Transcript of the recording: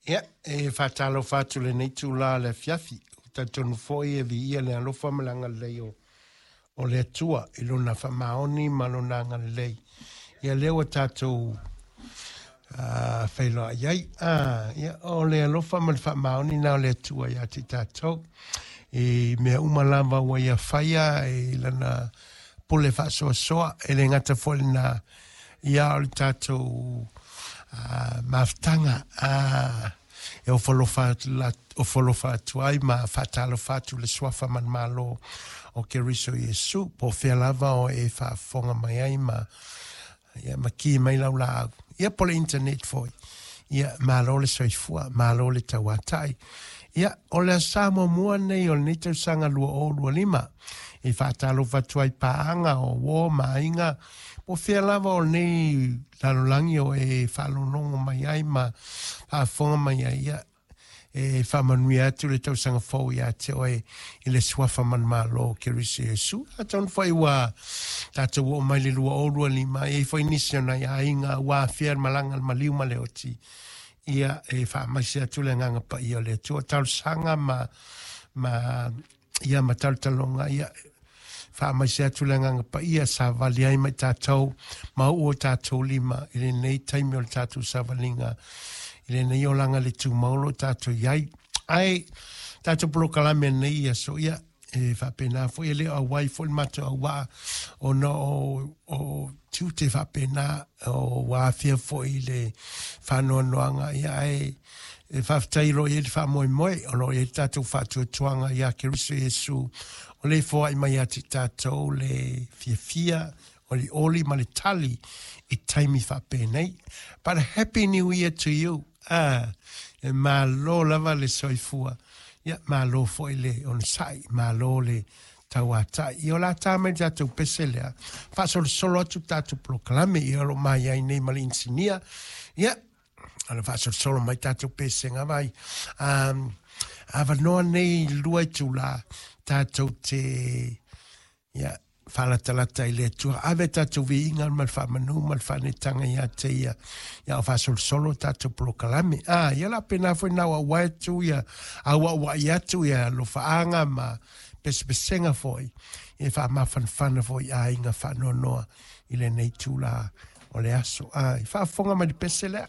Ia, e faatalofa atu i lenei itula o le afiafi. Ou te talitonu foi e viia le alofa ma le agalelei o, o le Atua i lona faamaoni ma lona agalelei. Ia lea ua tatou feiloai ai. Ia, o le alofa ma le faamaoni na o le Atua ia te i tatou. I mea uma lava ua ia faia i lana pule faasoasoa, e le gata foi lena, ia o le tatou mafutaga e ofo alofa atu ai ma faatalofa atu le suafa manumalo o Keriso Iesu, po o fea lava o e faafofoga mai ai ma ia ma ki mai lau laau. Ia po le internet foi. Ia malo le soifua, malo le tauatai. Ia, o le aso muamua nei o lenei tausaga 2025 e faatalofa atu ai paaga o uo ma aiga po o fea lava o lenei lalolagi o e faalogologo mai ai ma faafofoga mai ai. Ia, e faamanuia atu le tausaga fou ia te oe i le suafa manumalo o Keriso Iesu. Atonu foi ua tatou oo mai le 2025, e i ai foi nisi o nai aiga ua afea le malaga le maliu ma le oti. Ia, e faamaise atu le agaga paia o le Atua. Talosaga ma ia ma talotaloga, ia faamaise atu le agaga paia savali ai ma i tatou ma uu o tatou lima i lenei taimi o le tatou savaliga i lenei olaga le tumau o lo o tatou i ai. Ae tatou polokalame nei ia so ia e faapena foi e le o auai foi le matou auvaa ona o tiute faapena o ua afia foi i le faanoanoaga ia ae e faafetai o lo o i ai le faamoemoe o lo o i ai le tatou faatuatuaga ia Keriso Iesu o le foai mai ia te tatou le fiafia olioli ma le tali i taimi faapenei. But a happy new year to you. E malo lava le soifua. Ia, malo foi le onosai, malo le tauatai. Ia o le a ta mai le tatou pese lea, faasolosolo atu tatou polokalame, ia o lo o mai ai nei ma le inisinia. Ia, o le faasolosolo mai tatou pesega vai. Avanoa nei i 2 itula, tatou te, ia, faalatalata i le Atua. Ave tatou viiga ma le faamanu ma le faanetaga ia te ia, ia o faasolosolo tatou polokalame. Ia la pena foi na auauai atu, ia auauai atu, ia alofaaga ma pesepesega foi, e faamafanafana foi aiga faanoanoa i lenei itula o le aso. I faafofoga mai le pese lea.